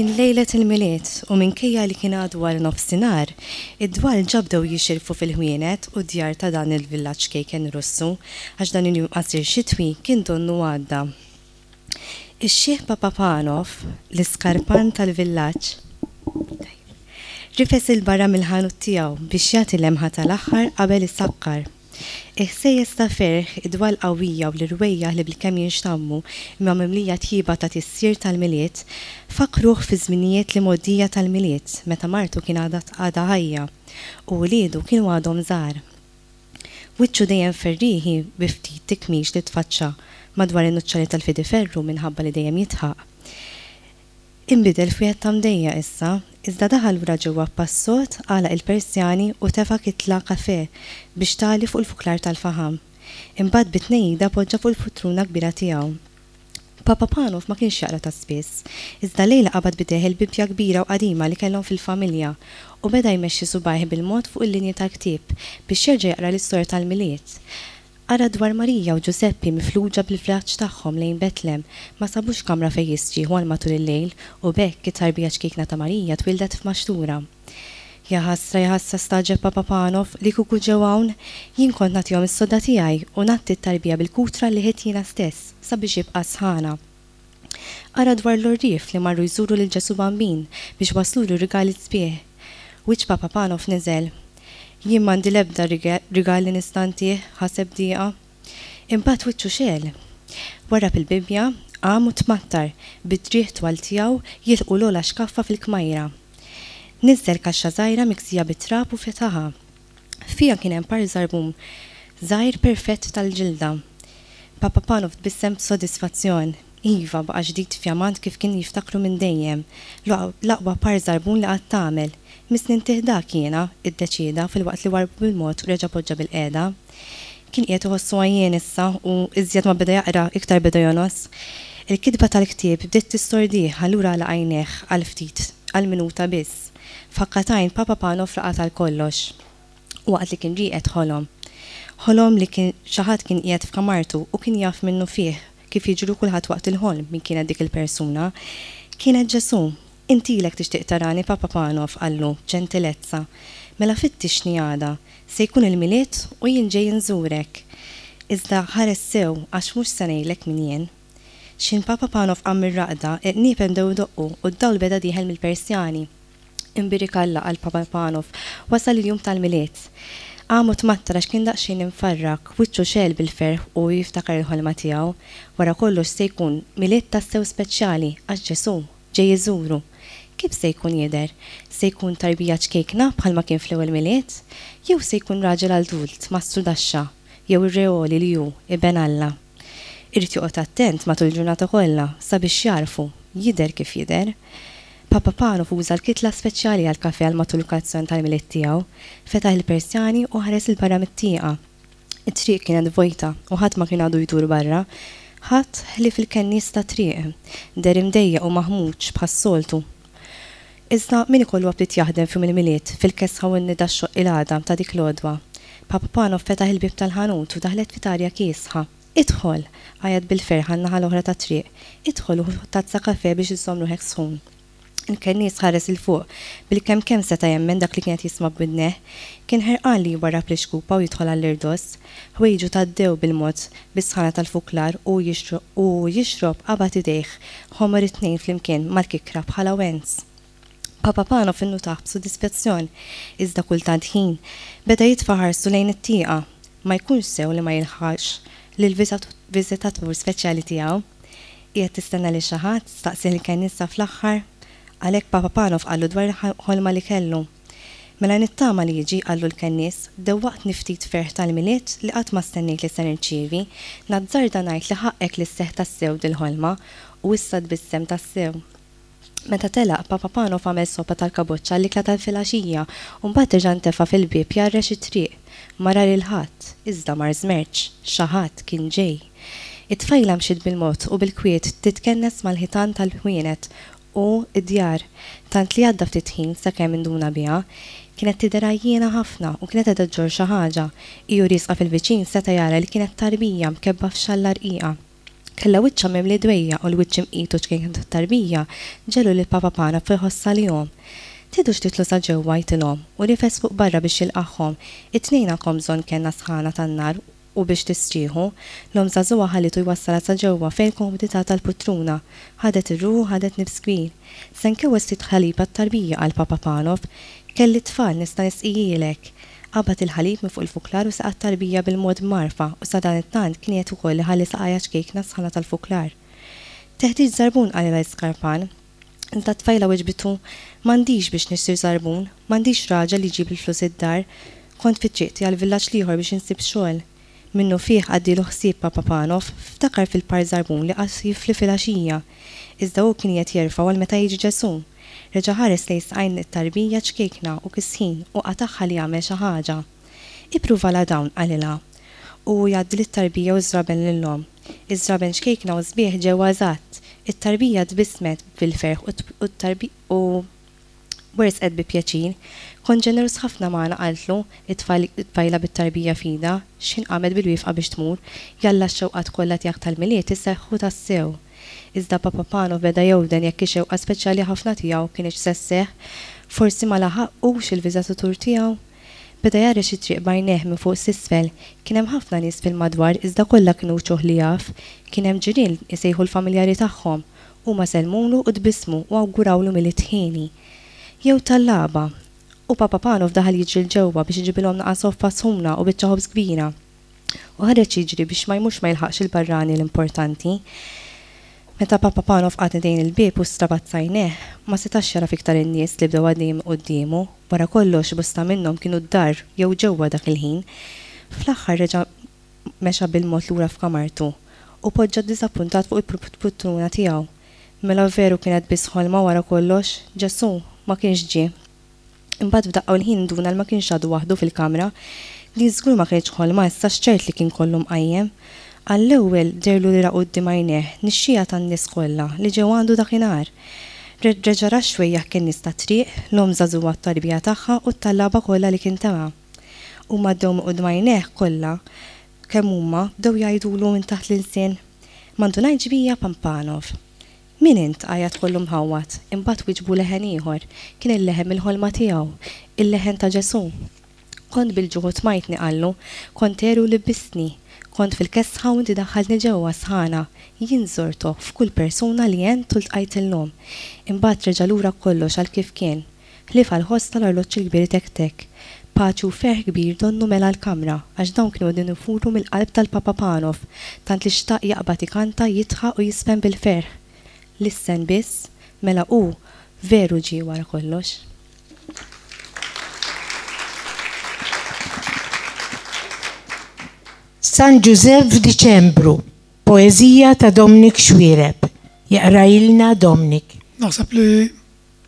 Kien lejlet il-Milied u minkejja li kien għadu wara nofsinhar, id-dwal ġa bdew jixirfu fil-ħwienet u d-djar ta' dan il-villaġġ ċkejken Russu għax dan il-jum qasir xitwi kien donnu għadda. Ix-xiħ Papapanov, l-iskarpan tal-villaġġ, rifes 'il barra mill-ħanut tiegħu biex jagħti lemħa tal-aħħar qabel isakkar. Il-ħsejjes ta' ferħ, id-dwal qawwija u l-irwejjaħ li bilkemm jinxtammu imma mimlija tjieba ta' tisjir tal-Milied, fakkruh fiż-żminijiet l-imgħoddija tal-Milied meta martu kien għadha ħajja u uliedu kienu għadhom żgħar. Wiċċu dejjem ferrieħi bi ftit tikmix li tfaċċa madwar in-nuċċali tal-fidiferru minħabba li dejjem jidħaq. Inbidel f'wieħed ta' mdejjaq issa, iżda daħal lura ġewwa b'pass sod, għalaq il-persjani u tefa' kitla kafè biex tagħli fuq il-fuklar tal-faħam. Imbagħad bi tnejjida poġġa fuq il-putruna kbira tiegħu. Papa Panov ma kienx jaqra ta' spiss, iżda llejla qabad b'idejh il-Bibbja kbira u qadima li kellhom fil-familja u beda jmexxi subgħajh bil-mod fuq il-linji tal-ktieb biex jerġa' jaqra l-istorja tal-Milied. Qara dwar Marija u Ġużeppi mifluġa bil-vjaġġ tagħhom lejn Betlem, ma sabux kamra fejn jistrieħu għal matul il-lejl u b'hekk it-tarbija ċkejkna ta' Marija twieldet f'maxtura. Jaħasra, jaħasra stagħġeb Papa Panov, li kieku ġew hawn, jien kont nagħtihom is-sodda tiegħi u ngħatti t-tarbija bil-kutra li ħidt jiena stess sabiex jibqa' sħana. Qara dwar l-għorrief li marru jżuru lil Ġesù Bambin biex wasslulu rigali sbieħ. Wiċċ Papa Panov niżel. Jien m'għandi l-ebda rigal li nista' ntih, ħaseb b'dieqa. Imbagħad wiċċu xegħel. Warrab il-Bibbja, qam u tmattar, bid-driegħ twal tiegħu jilħqu l-ogħla xkaffa fil-kmajra. Niżżel kaxxa żgħira miksija bit-trab u fetaħha. Fiha kien hemm par żarbun żgħir perfett tal-ġilda. Papa Panov tbissem b'sodisfazzjon. Iva, baqa' ġdid fjamant kif kien jiftakru minn dejjem. L-aqwa par żarbun li qatt għamel. Missni ntih dak jiena, iddeċieda filwaqt li warrbu bil-mod u reġa' poġġa bilqiegħda. Kien qiegħed iħossu għajjien issa u iżjed ma beda jaqra iktar beda jongħos. Il-kitba tal-ktieb bdiet tistordih allura għalaq għajnejh għal ftit, għal minuta biss. F'ħakka t'għajn Papa Panov raqad għal kollox. Waqt li kien rieqed ħolom. Ħolom li kien xi ħadd kien qiegħed f'kamartu u kien jaf minnufih, kif jiġri kulħadd waqt il-ħolm, min kienet dik il-persuna. Kienet Ġesù. Int ilek tixtieq tarani, Papa Panov, qallu, b'ġentilezza. Mela fittixni għada. Se jkun il-Milied u jien ġej inżurek. Iżda ħares sew għax mhux se ngħidlek min jien. X'ħin Papa Panov qam mir-raqda, il-qniepen bdew idoqqu u d-dawl beda dieħel mill-Persjani. Imbierek Alla, qal Papa Panov, wasal il-jum tal-Milied. Qam u tmattar għax kien daqsxejn imfarrak, wiċċu xegħel bil-ferħ u hu jiftakar il-ħolma tiegħu. Wara kollox se jkun Milied tassew speċjali għax Ġesù ġej iżuru. Kif se jkun jidher? Se jkun tarbija ċkejkna bħalma kien fl-ewwel Milied? Jew se jkun raġel adult, mastru daxxa, jew ir-re għoli li hu, Iben Alla? Irid joqgħod attent matul il-ġurnata kollha sabiex jagħrfu jidher kif jidher. Papa Panov uża l-kitla speċjali għall-kafè għal matul il-kolazzjon tal-Milied tiegħu. Fetaħ il-persjani u ħares 'il barra mit-tieqa. It-triq kienet vojta u ħadd ma kien għadu jdur barra. Ħadd ħlief il-kennies tat-triq. Deher imdejjaq u maħmuġ bħas-soltu. Iżda min ikollu aptit jaħdem f'jum il-Milied, fil-kesħa u n-nida xxoqq il-għadam ta' dik l-għodwa? Papa Panov fetaħ il-bieb tal-ħanut u daħlet ftit arja kiesħa. Idħol! għajjat bil-ferħ għan-naħa l-oħra tat-triq. Idħol u ħu tazza kafè biex iżżomm ruħek sħun. Il-kennies ħares 'il fuq, bilkemm kemm seta' jemmen dak li kien qed jisma' b'widnejh. Kien ħerqan li jwarrab l-ixkupa u jidħol għall-irdoss. Ħwejġu tgħaddew bil-mod bis-sħana tal-fuklar u u hu jixrob qabad idejh ħomor it-tnejn flimkien mal-kikkra bħala wens. Papa Panov innutah b'sodisfazzjon, iżda kultant ħin beda jitfa' ħarstu lejn it-tieqa. Ma jkunx sew li ma jilħaqx lill-viżitatur speċjali tiegħu. Qiegħed tistenna lil xi ħadd? staqsieh il-kennissa fl-aħħar. Għalhekk Papa Panov qallu dwar il-ħolma li kellu. Mela nittama li jiġi, qallu l-kennies, dewwaqtni ftit ferħ tal-Milied li qatt ma stennejt li se nirċievi. Nazzarda ngħid li ħaqqek li sseħħ tassew dil-ħolma. U issa tbissem tassew. Meta telaq, Papa Panov għamel soppa tal-kaboċċa għall-ikla tal-filgħaxija u mbagħad reġa' ntefa' fil-bieb jgħarrex it-triq. Ma ra lil ħadd, iżda mar żmerċ. Xi ħadd kien ġej. It-tfajla mxiet bil-mod u bil-kwiet titkennes mal-ħitan tal-ħwienet u d-djar, tant li għadda ftit ħin sakemm induna biha. Kienet tidher għajjiena ħafna u kienet qiegħda ġġorr xi ħaġa. Hi u riesqa fil-viċin seta' jara li kienet tarbija mkebba f'xalla rqiqa. Kellha wiċċha mimli dwejjaq u l-wiċċ imqit u ċkejken tat-tarbija ġegħlu lil Papa Panov iħoss għalihom. Tridux titlu sa ġewwa, għidtilhom, u rifes fuq barra biex jilqagħhom. It-tnejn għandkom bżonn kenna sħana tan-nar u biex tistrieħu. L-omm żagħżugħa ħallitu jwassalha sa ġewwa fejn il-komodità tal-putruna. Ħadet ir-ruħ u ħadet nifs kbir. Se nkewwes ftit ħalib għat-tarbija, qal Papa Panov. Kelli t-tfal, nista' nisqihielek. Qabad il-ħalib minn fuq il-fuklar u seqa t-tarbija bil-mod b'mgħarfa u sadanittant kien qiegħed ukoll iħalli saqajha ċkejkna s-sħana tal-fuklar. Teħtieġ żarbun qalilha l-iskarpan. Iżda t-tfajla weġbitu, M'għandix biex nixtri żarbun, m'għandix raġel li jġib il-flus id-dar. Kont fi triqti għall-villaġġ l-ieħor biex insib xogħol. Minnufih għaddielu ħsieb Papa Panov, ftakar fil-par żarbun li qagħad jifli filgħaxija. Iżda hu kien qiegħed jerfgħu għal meta jiġi Ġesù. Reġa' ħares lejn saqajn it-tarbija ċkejkna u kisħin u qatagħha li jagħmel xi ħaġa. Ippruvalha dawn, qalilha. U hu jgħaddi lit-tarbija u ż-żraben lill-omm. Iż-żraben ċkejkna u sbieħ ġewha eżatt. It-tarbija tbissmet bil-ferħ u u wersqet bi pjaċir. Kont ġeneruż ħafna magħna, qaltlu it-tfajla bit-tarbija f'idha, x'ħin qamet bil-wieqfa biex tmur. Jalla x-xewqat kollha tiegħek tal-Milied iseħħu tassew. Iżda Papa Panov beda jewden jekk ix-xewqa speċjali ħafna tiegħu kinitx se sseħħ. Forsi ma laħaqux il-viżatatur tiegħu? Beda jgħarrex it-triq b'għajnejh minn fuq s'isfel. Kien hemm ħafna nies fil-madwar iżda kollha kienu wċuħ li jaf. Kien hemm ġirien isejħu l-familjari tagħhom. Huma sellmulu u tbissmu u awgurawlu Milied ħieni. Jew tallaba. U Papa Panov daħal jiġri 'l ġewwa biex iġibilhom naqa' soffa sħuna u biċċa ħobż kbira. U ħareġ jiġri biex ma jmurx ma jilħaqx il-barrani l-importanti. Meta Papa Panov qagħad idejn il-bieb u strabazza għajnejh, ma setax jagħraf iktar in-nies li bdew għaddejjin minn quddiemu. Wara kollox, bosta minnhom kienu d-dar jew ġewwa dak il-ħin. Fl-aħħar reġa' mexa bil-mod lura f'kamartu u poġġa ddiżappuntat fuq il-pultruna tiegħu. Mela veru kienet biss ħolma wara kollox, Ġesù ma kienx ġie. Imbagħad f'daqqa u l-ħin nduna li ma kienx għadu waħdu fil-kamra. Din żgur ma kinitx ħolma issa x'ċert li kien kollu mqajjem. Għall-ewwel dehrlu li ra quddiem għajnejh nixxiegħa tan-nies kollha li ġew għandu dakinhar. Reġa' ra x-xwejjaħ kien nies tat-triq, l-omm żagħżugħa t-tarbija tagħha u t-tallaba kollha li kien tama'. Huma għaddew minn quddiem għajnejh kollha kemm huma bdew jgħidulu minn taħt l-ilsien, Ma ndunajtx bija Pampanov? Min int? għajjat kollu mħawwad. Imbagħad wieġbu leħen ieħor. Kien il-leħen mill-ħolma tiegħu. Il-leħen ta' Ġesù. Kont bil-ġuħ u tmajtni, qallu. Kont għeri u libbistni. Kont fil-kesħa u inti daħħaltni ġewwa s-sħana. Jien żortok f'kull persuna li għent u ltqajt illum. Imbagħad reġa' lura kollox għal kif kien. Ħlief għall-ħoss tal-arloġġ il-kbir itektek. Paċi u ferħ kbir donnu mela l-kamra, għax dawn kienu qegħdin ifuru mill-qalb tal-Papa Panov, tant li xtaq jaqbad ikanta, jidħaq u jiżfen bil-ferħ. Lissen biss, mela hu veru ġie wara kollox. San Ġużepp f'Diċembru, poeżija ta' Dominic Xuereb. Jaqrahilna Dominic. Naħseb li.